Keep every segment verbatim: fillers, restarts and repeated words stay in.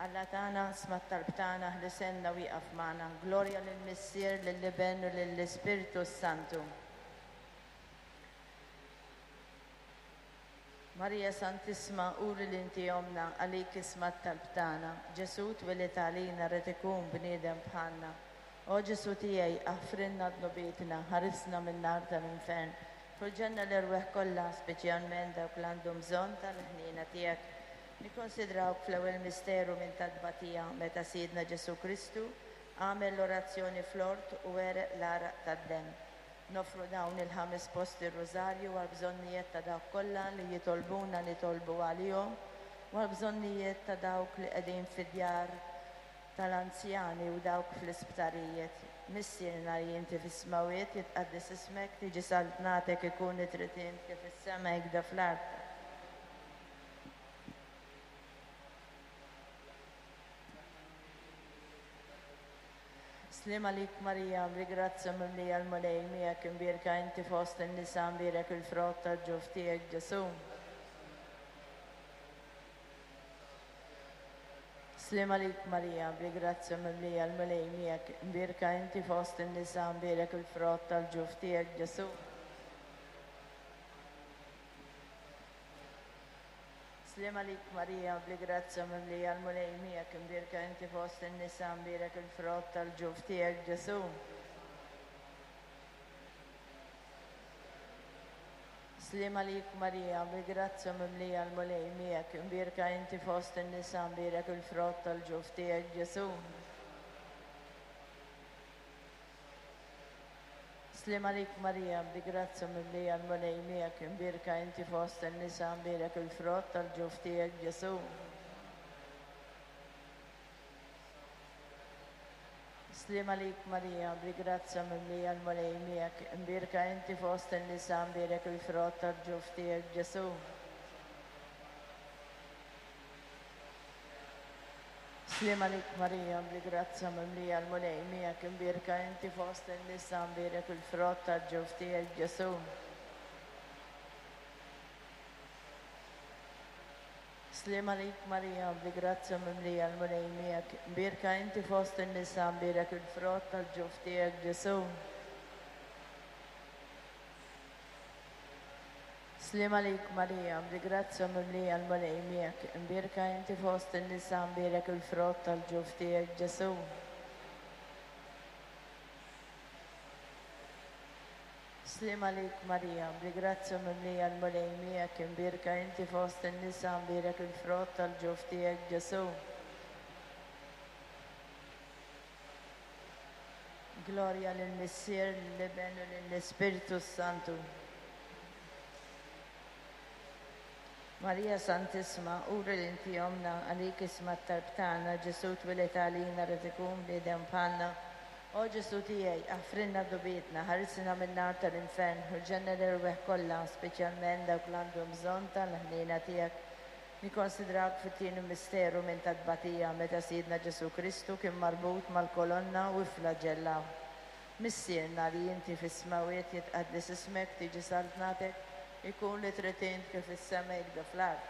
Alla tagħna, sma' t-talb tagħna, ħlisenna u ieqaf magħna. Glorja lill-Missier, lill-Iben u lill-Ispirtu s-Santu. Marija Santissima, uri li inti ommna, għalik isma' t-talb tagħna. Ġesù twieled għalina rid ikun bniedem bħalna. O Ġesù tiegħi, aħfrilna dnubietna, ħarisna min-nar tal-infern. Fil-ġenna l-erwieħ kollha, speċjalment dawk li għandhom bżonn tal-ħniena tiegħek. Nikkonsidrawk fl-ewwel misteru minn tat-tbatija meta Sidna Ġesù Kristu għamel l-orazzjoni fl-ort u għereq l-għaraq tad-demm. Noffru dawn il-ħames posti r-Rużarju għal bżonnijiet ta' dawk kollha li jitolbuna nitolbu għalihom u għal bżonnijiet ta' dawk li qegħdin fid-djar tal-anzjani u dawk fl-isptarijiet. Missierna li inti fis-smawiet, jitqaddes ismek, tiġi saltnatek, ikun it-trid int kif is-sema hekk fl-art. Sliem għalik Marija, bi grazzja mimlija l-Mulej miegħek, imbierka inti fost in-nisa, mbierek il-frott tal-ġuf tiegħek Ġesù. Sliem għalik Marija, bi grazzja mimlija l-Mulej miegħek, imbierka inti fost in-nisa, mbierek il-frott tal-ġuf tiegħek Ġesù. Sliem għalik Marija, bi grazzja mimlija l-Mulej miegħek, imbierka inti fost in-nisa, mbierek il-frott tal-ġuf tiegħek Ġesù. Sliem għalik Marija, bi grazzja mimlija l-Mulej miegħek, imbierka inti fost in-nisa, mbierek il-frott tal-ġuf tiegħek Ġesù. Sliem għalik Marija, bi grazzja mimlija l-Mulej miegħek, imbierka inti fost in-nisa, mbierek il-frott tal-ġuf tiegħek Ġesù. Sliem għalik Marija, bi grazzja mimlija l-Mulej miegħek, imbierka inti fost in-nisa, mbierek il-frott tal-ġuf tiegħek Ġesù. Sliem għalik Marija, bi grazzja mimlija l-Mulej miegħek, imbierka inti fost in-nisa, mbierek il-frott tal-ġuf tiegħek Ġesù. Sliem għalik Marija, bi grazzja mimlija l-Mulej miegħek, imbierka inti fost in-nisa, mbierek il-frott tal-ġuf tiegħek Ġesù. Sliem għalik Marija, bi grazzja mimlija l-Mulej miegħek, imbierka inti fost in-nisa, mbierek il-frott tal-ġuf tiegħek Ġesù. Sliem għalik Marija, bi grazzja mimlija l-Mulej miegħek, imbierka inti fost in-nisa, mbierek il-frott tal-ġuf tiegħek Ġesù. Glorja lill-Missier, lill-Iben u lill-Ispirtu s-Santu. Marija Santissima, uri li inti ommna, għalik isma' t-talb tagħna, Ġesù twieled għalina rid ikun bniedem bħalna. O Ġesù tiegħi, aħfrilna dnubietna, ħarisna min-nar tal-infern, u l-ġenna l-erwieħ kollha, speċjalment dawk li għandhom bżonn tal-ħniena tiegħek. Nikkonsidrawk fit-tieni misteru minn tat-tbatija meta Sidna Ġesù Kristu kien marbut mal-kolonna u fflaġellaw. Missierna li inti fis-smawiet, jitqaddes ismek, tiġi saltnatek, ikun li trid int kif is-sema hekk fl-art.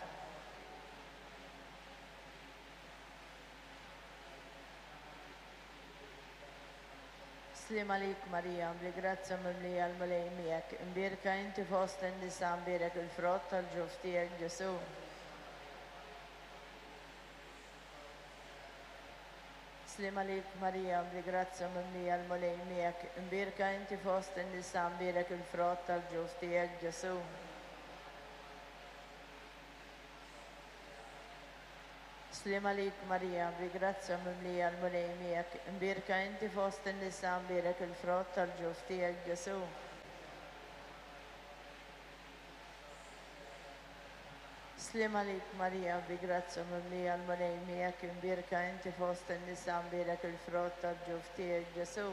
Sliem għalik Marija, bi grazzja mimlija l-Mulej miegħek, imbierka inti fost in-nisa, mbierek il-frott tal-ġuf tiegħek Ġesù. Sliem għalik Marija, bi grazzja mimlija l-Mulej miegħek, imbierka inti fost in-nisa, mbierek il-frott tal-ġuf tiegħek Ġesù. Sliem għalik Marija, bi grazzja mimlija l-Mulej miegħek, imbierka inti fost in-nisa, mbierek il-frott tal-ġuf tiegħek Ġesù. Sliem għalik Marija, bi grazzja mimlija l-Mulej miegħek, imbierka inti fost in-nisa, mbierek il-frott tal-ġuf tiegħek Ġesù.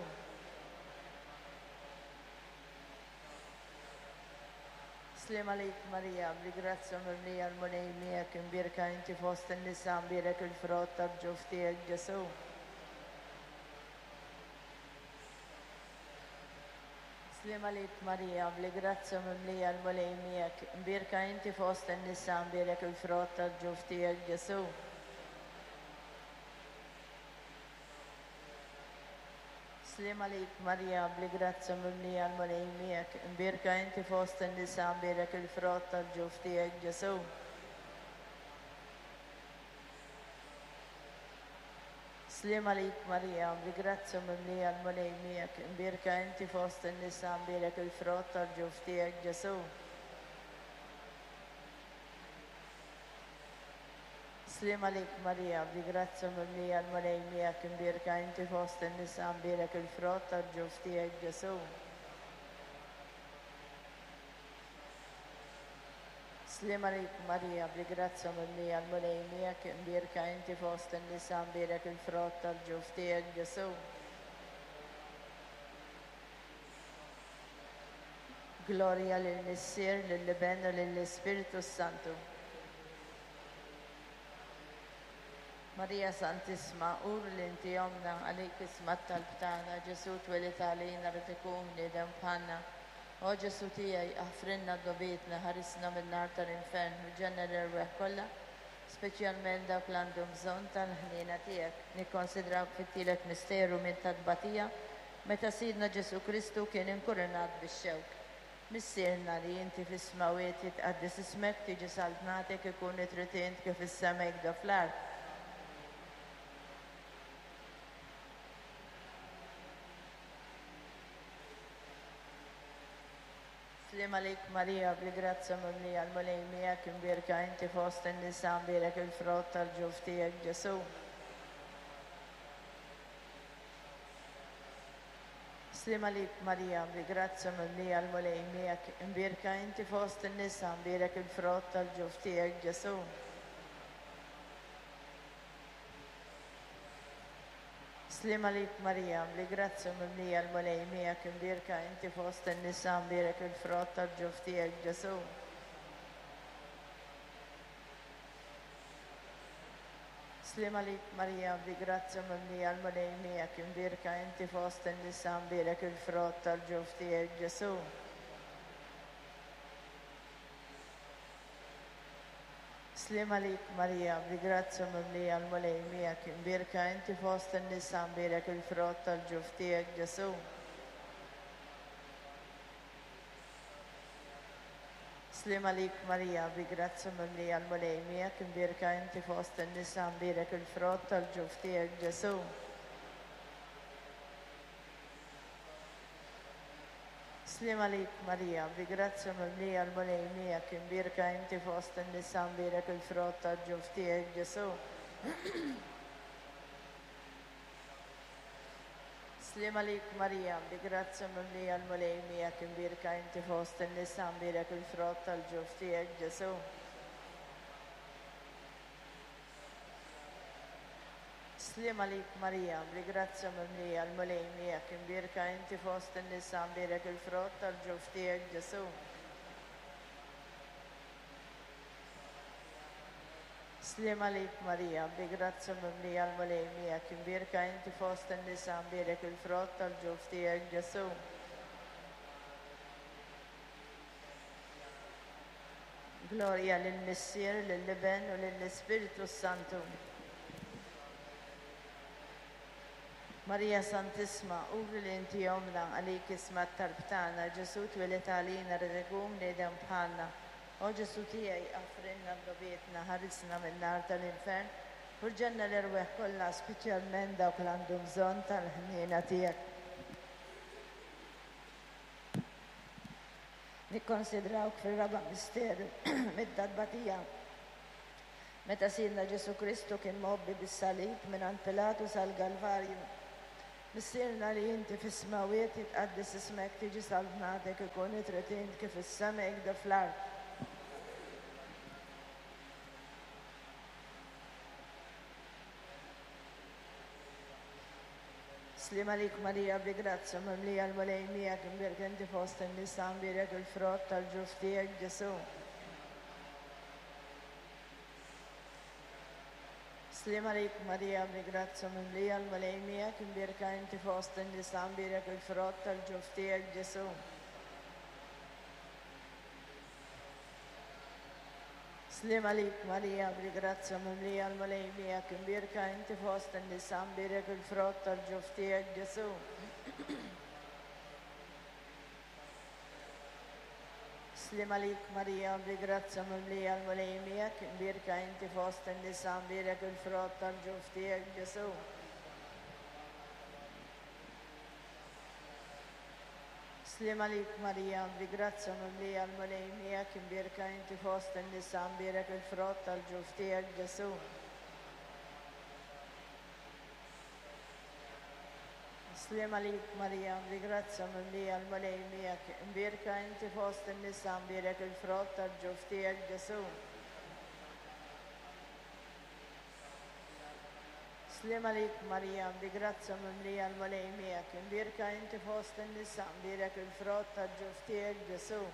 Sliem għalik Marija, bi grazzja mimlija l-Mulej miegħek, imbierka inti fost in-nisa, mbierek il-frott tal-ġuf tiegħek Ġesù. Sliem għalik Marija, bi grazzja mimlija l-Mulej miegħek, imbierka inti fost in-nisa, mbierek il-frott tal-ġuf tiegħek Ġesù. Sliem għalik Marija, bli grazzja mimlija l-Mulej miegħek, imbierka inti fost in-nisa, imbierek il-frott tal-ġuf tiegħek Ġesu. Sliem għalik Marija, bli grazzja mimlija l-Mulej miegħek, imbierka inti fost in-nisa, imbierek il-frott tal-ġuf tiegħek Ġesu. Sliem għalik Marija, bli grazzja mimlija l-Mulej miegħek, imbierka inti fost in-nisa, imbierek il-frott tal-ġuf tiegħek Ġesu. Sliem għalik Marija, bli grazzja mimlija l-Mulej miegħek, imbierka inti fost in-nisa, imbierek il-frott tal-ġuf tiegħek Ġesu. Glorja lill-Missier, lill-Iben u lill-Ispirtu s-Santu. Marija Santissima, ur li inti ommna, għalik isma' t-talb tagħna, Ġesu twelid għalina rid ikun bniedem bħalna. O Ġesu tiegħi, aħfrilna dnubietna, ħarisna min-nar tal-infern u ġenna l-erwieħ kollha, speċjalment dawk li għandhom bżonn tal-ħniena tiegħek. Nikkonsidrawk fit-tielet misteru minn tat-tbatija, meta Sidna Ġesu Kristu kien inkurunat bix-xewk. Missierna li inti fis-smawiet, jitqaddes ismek, tiġi saltnatek, ikun it-trid int kif is-sema hekk fl-art. Sliem għalik Marija, bli grazzja mimlija l-Mulej miegħek, imbierka inti fost in-nisa, imbierek il-frott tal-ġuf tiegħek Ġesu. Sliem għalik Marija, bli grazzja mimlija l-Mulej miegħek, imbierka inti fost in-nisa, imbierek il-frott tal-ġuf tiegħek Ġesu. Sliem għalik Marija, bli grazzja mimlija l-Mulej miegħek, imbierka inti fost in-nisa, imbierek il-frott tal-ġuf tiegħek Ġesu. Sliem għalik Marija, bli grazzja mimlija l-Mulej miegħek, imbierka inti fost in-nisa, imbierek il-frott tal-ġuf tiegħek Ġesu. Sliem għalik Marija, bli grazzja mimlija l-Mulej miegħek, imbierka inti fost in-nisa, imbierek il-frott tal-ġuf tiegħek Ġesu. Sliem għalik Marija, bli grazzja mimlija l-Mulej miegħek, imbierka inti fost in-nisa, imbierek il-frott tal-ġuf tiegħek Ġesu. Sliem għalik Marija, bli grazzja mimlija l-Mulej miegħek, imbierka inti fost in-nisa, imbierek il-frott tal-ġuf tiegħek Ġesu. Sliem għalik Marija, bli grazzja mimlija l-Mulej miegħek, imbierka inti fost in-nisa, imbierek il-frott tal-ġuf tiegħek Ġesu. Sliem għalik Marija, bli grazzja mimlija l-Mulej miegħek, imbierka inti fost in-nisa, imbierek il-frott tal-ġuf tiegħek Ġesu. Sliem għalik Marija, bli grazzja mimlija l-Mulej miegħek, imbierka inti fost in-nisa, imbierek il-frott tal-ġuf tiegħek Ġesu. Glorja lill-Missier, lill-Iben u lill-Ispirtu s-Santu. Marija Santissima, uri li inti ommna, għalik isma' t-talb tagħna, Ġesu twelid għalina rid ikun bniedem bħalna. O Ġesu tiegħi, aħfrilna dnubietna, ħarisna min-nar tal-infern, u ġenna l-erwieħ kollha, speċjalment dawk li għandhom bżonn tal-ħniena tiegħek. Nikkonsidrawk fir-raba' misteru mid-tbatija. Meta Sidna Ġesu Kristu kien mgħobbi bis-salib mingħand Pilatu sal-Galvarju. Missierna li inti fis-smawiet, jitqaddes ismek, tiġi saltnatek, ikun it-trid int kif is-sema hekk fl-art. Sliem għalik Marija, bli grazzja mimlija l-Mulej miegħek, imbierek inti fost in-nisa, imbierek il-frott tal-ġuf tiegħek Ġesu. Sliem għalik Marija, bli grazzja mimlija l-Mulej miegħek, imbierka inti fost in-nisa, imbierek il-frott tal-ġuf tiegħek Ġesu. Sliem għalik Marija, bli grazzja mimlija l-Mulej miegħek, imbierka inti fost in-nisa, imbierek il-frott tal-ġuf tiegħek Ġesu. Sliem għalik Marija, bi grazzja mimlija l-Mulej miegħek, imbierka inti fost in-nisa, mbierek il-frott tal-ġuf tiegħek Ġesù. Sliem għalik Marija, bi grazzja mimlija l-Mulej miegħek, imbierka inti fost in-nisa, mbierek il-frott tal-ġuf tiegħek Ġesù. Sliem għalik Marija, bi grazzja mimlija l-Mulej miegħek, imbierka inti fost in-nisa, mbierek il-frott tal-ġuf tiegħek Ġesù. Sliem għalik Marija, bi grazzja mimlija l-Mulej miegħek, imbierka inti fost in-nisa, mbierek il-frott tal-ġuf tiegħek Ġesù.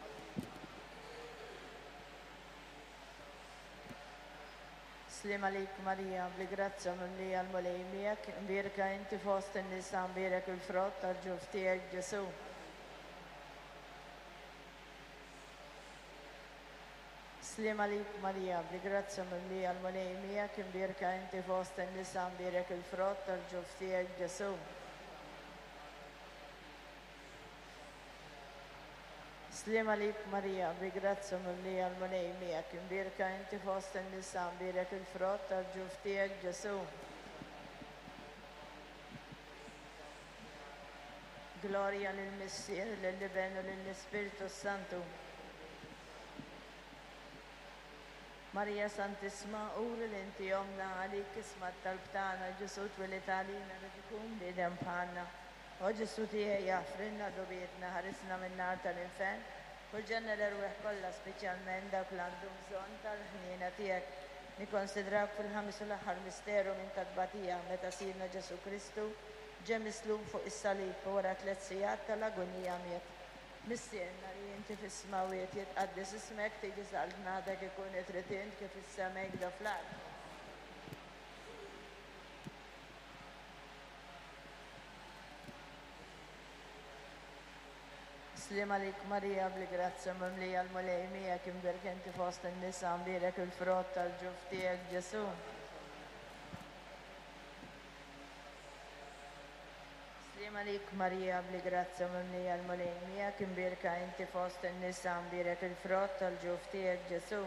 Sliem għalik Marija, bi grazzja mimlija l-Mulej miegħek, imbierka inti fost in-nisa, mbierek il-frott tal-ġuf tiegħek Ġesù. Sliem għalik Marija, bi grazzja mimlija l-Mulej miegħek, imbierka inti fost in-nisa, mbierek il-frott tal-ġuf tiegħek Ġesù. Sliem għalik Marija, bi grazzja mimlija l-Mulej miegħek, imbierka inti fost in-nisa, mbierek il-frott tal-ġuf tiegħek Ġesù. Glorja lill-Missier, lill-Iben u lill-Ispirtu Santu. Marija Santissima, uri li inti omna, għalik isma' t-talb tagħna, Ġesù twieled għalina rid ikun bniedem bħalna. O Ġesù tiegħi, aħfrilna dnubietna, ħarisna min-nar tal-infern, u l-ġenna l-erwieħ kollha, speċjalment dawk li għandhom bżonn tal-ħniena tiegħek. Nikkonsidrawk fil-ħames u l-aħħar misteru minn tat-tbatija meta Sidna Ġesù Kristu ġie mislub fuq is-salib u wara tliet sigħat tal-agonija miet. Missierna li inti fis-smawiet, jitqaddes ismek, tiġi saltnatek, ikun trid int kif is-sema hekk fl-art. Sliem għalik Marija, bli grazzja mimlija l-Mulej miegħek, imbierek inti fost in-nisa, mbierek il-frott tal-ġuf tiegħek Ġesù. Sliem għalik Marija, bli grazzja mimlija l-Mulej miegħek, imbierka inti fost in-nisa, mbierek il-frott tal-ġuf tiegħek Ġesù.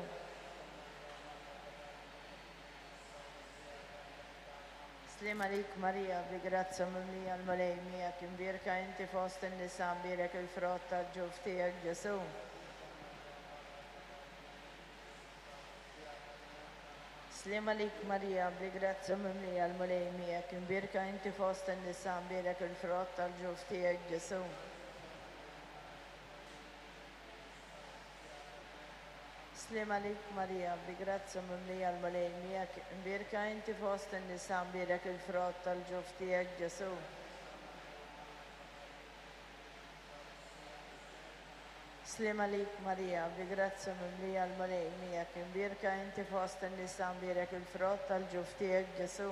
Sliem għalik Marija, bi grazzja mimlija l-Mulej miegħek, imbierka inti fost in-nisa, mbierek il-frott tal-ġuf tiegħek Ġesù. Sliem għalik Marija, bi grazzja mimlija l-Mulej miegħek, imbierka inti fost in-nisa, mbierek il-frott tal-ġuf tiegħek Ġesù. Sliem għalik Marija, bi grazzja mimlija l-Mulej miegħek, imbierka inti fost in-nisa, mbierek il-frott tal-ġuf tiegħek Ġesù. Sliem għalik Marija, bi grazzja mimlija l-Mulej miegħek, imbierka inti fost in-nisa, mbierek il-frott tal-ġuf tiegħek Ġesù.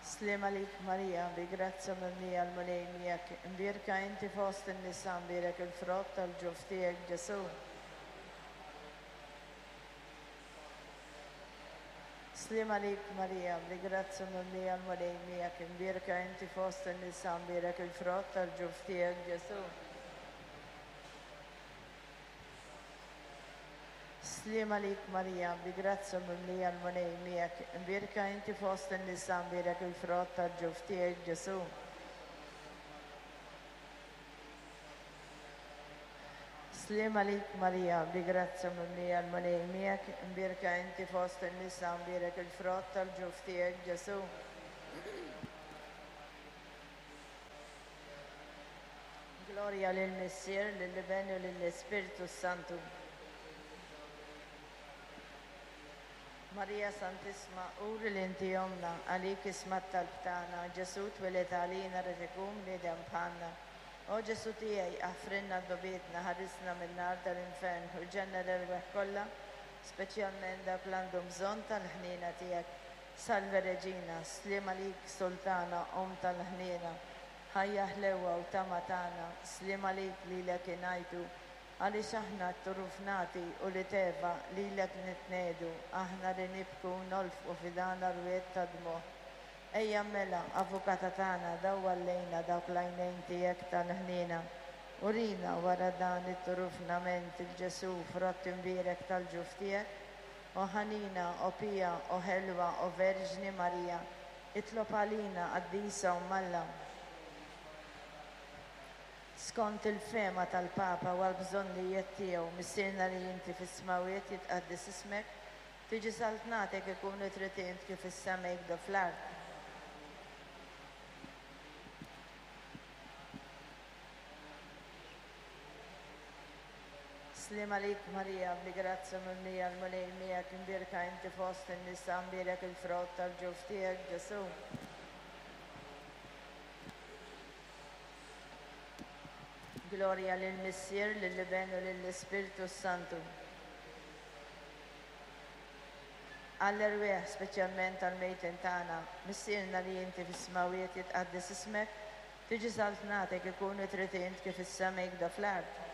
Sliem għalik Marija, bi grazzja mimlija l-Mulej miegħek, imbierka inti fost in-nisa, mbierek il-frott tal-ġuf tiegħek Ġesù. Sliem għalik Marija, bi grazzja mimlija l-Mulej miegħek, imbierka inti fost in-nisa, mbierek il-frott tal-ġuf tiegħek Ġesù. Sliem għalik Marija, bi grazzja mimlija l-Mulej miegħek, imbierka inti fost in-nisa, mbierek il-frott tal-ġuf tiegħek Ġesù. Sliem għalik Marija, bi grazzja mimlija l-Mulej miegħek, imbierka inti fost in-nisa, mbierek il-frott tal-ġuf tiegħek Ġesù. Glorja lill-Missier, lill-Iben u lill-Ispirtu Santu. Marija Santissima, uri li inti omna, għalik isma' t-talb tagħna, Ġesù twieled għalina rid ikun bniedem bħalna. O Ġesù tiegħi, aħfrilna dnubietna, ħarisna min-nar tal-infern u l-ġenna l-erwieħ kollha, speċjalment dawk li għandhom bżonn tal-ħniena tiegħek. Salve Reġina, sliem għalik Sultana, Omm tal-ħniena, ħajja ħlewwa u tama tagħna, sliem għalik lilek ingħajtu, għaliex aħna t-turufnati u li teva lilek nitnedu, aħna li nibku nolfqu fidana rwiet ta' dmuħ. Ejja mela, avukata tagħna, dawwal lejna dawk l-għajnejn tiegħek tal-ħniena. Urina wara dan it-turufnament il-Ġesu frott imbierek tal-ġuf tiegħek. O ħanina, o pija, o ħelwa, o Verġni Marija, itlob għalina qaddisa Omm Alla. Skont il-fehma tal-Papa u għall-bżonnijiet tiegħu, Missierna li inti fis-smawiet jitqaddes ismek, tiġi saltnatek ikun trid int kif is-sema jikdu fl-art. Sliem għalik Marija, bli grazzja mimlija l-Mulej miegħek, imbierka inti fost in-nisa, imbierek il-frott tal-ġuf tiegħek, Ġesu. Gloria lill-Missier, lill-Iben u lill-Ispirtu Santu. Għall-erwieħ speċjalment tal-mejtin tagħna, Missierna li inti fis-smawiet jitqaddes ismek, tiġi saltnatek ikun trid int kif is-sema jikda fl-art.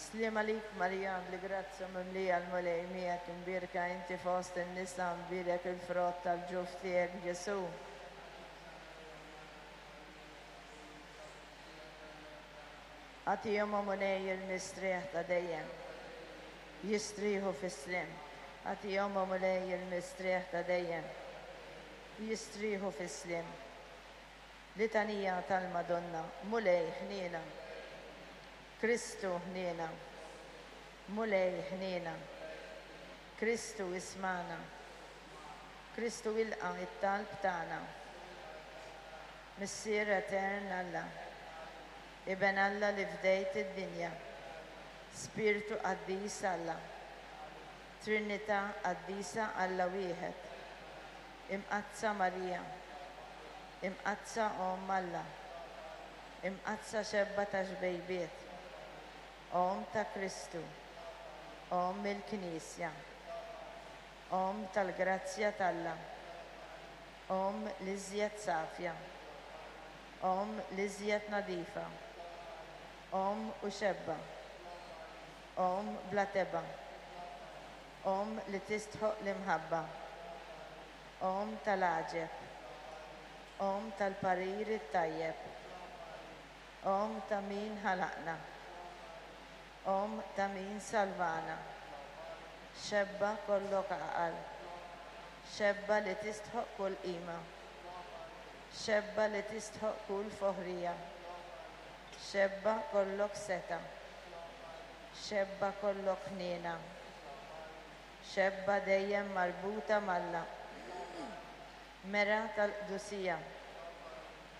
Sliem għalik Marija, bli grazzja mimlija l-Mulej miegħek, imbierka inti fost in-nisa, imbierek il-frott tal-ġuf tiegħek, Ġesu. Agħtihom, o Mulej, il-mistrieħ ta' dejjem. Jistrieħu fis-sliem. Agħtihom, o Mulej, il-mistrieħ ta' dejjem. Jistrieħu fis-sliem. Litanija tal-Madonna, Mulej ħniena. Kristu ħniena, Mulej ħniena, Kristu ismana, Kristu ilqa' it-talb tagħna. Missier etern Alla, Iben Alla li fdejt id-dinja, Spirtu qaddis Alla, Trinità qaddisa Alla wieħed, Imqaddsa Marija, Imqaddsa Omm Alla, Imqaddsa xebba ta' xbejbiet, Omm ta' Kristu, Omm il-Knisja, Omm tal-grazzja t'Alla, Omm l-iżjed safja, Omm l-iżjed nadifa, Omm u xebba, Omm bla tebgħa, Omm li tistħoq l-imħabba, Omm tal-għaġeb, Omm tal-parir it-tajjeb, Omm ta' min ħalaqna, Omm ta' min salvana, xebba kollok għaqal, xebba li tistħoq kull qima, xebba li tistħoq kull foħrija, xebba kollok seta, xebba kollok ħniena, xebba dejjem marbuta m'Alla, mera tal-qdusija,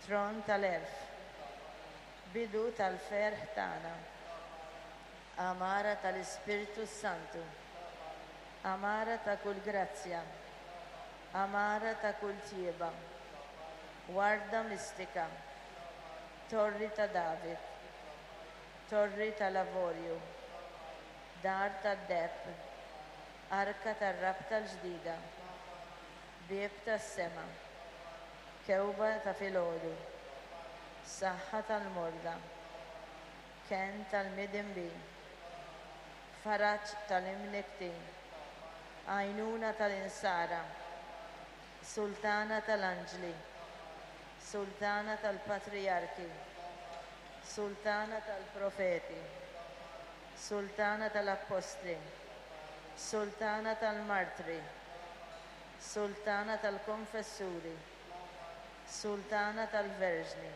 tron tal-għerf, bidu tal-ferħ tagħna, Amara tal-Ispirtu Santu, amara ta' kull grazzja, amara ta' kull tjieba, warda mistika, torri ta' David, torri tal-avorju, dar tad-deheb, arka tar-rabta l-ġdida, bieb tas-sema, kewba ta' filgħodu, saħħa tal-morda, kenn tal-midinbin, faraġ tal-imniktin, għajnuna tal-insara, sultana tal-anġli, sultana tal-patrijarki, sultana tal-profeti, sultana tal-appostli, sultana tal-martri, sultana tal-konfessuri, sultana tal-verġni,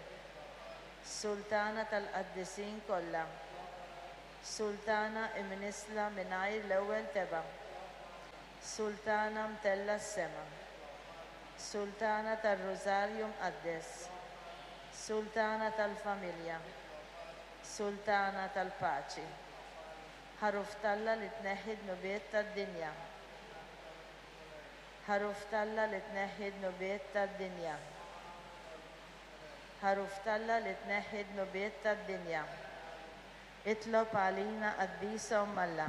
sultana tal-qaddisin kollha, sultana imnisla mingħajr l-ewwel tebgħa, sultana mtella s-sema, sultana tar-Rużarju Mqaddes, sultana tal-familja, sultana tal-paċi, ħaruf t'Alla li tneħħi dnubiet tad-dinja, ħaruf t'Alla li tneħħi dnubiet tad-dinja, ħaruf t'Alla li tneħħi dnubiet tad-dinja. Itlob għalina qaddisa Omm Alla.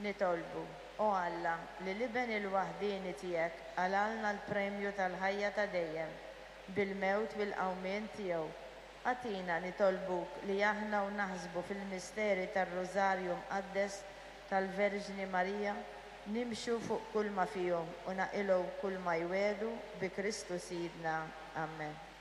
Nitolbu, o Alla, li l-Iben il-waħdieni tiegħek għalalna l-premju tal-ħajja ta' dejjem bil-mewt bil-qawmien tiegħu. Agħtina nitolbuk li aħna u naħsbu fil-misteri tar-Rużarju Mqaddes tal-Verġni Marija, nimxu fuq kull ma fihom u naqilgħu kull ma jwiegħdu bi Kristu Sidna. Amen.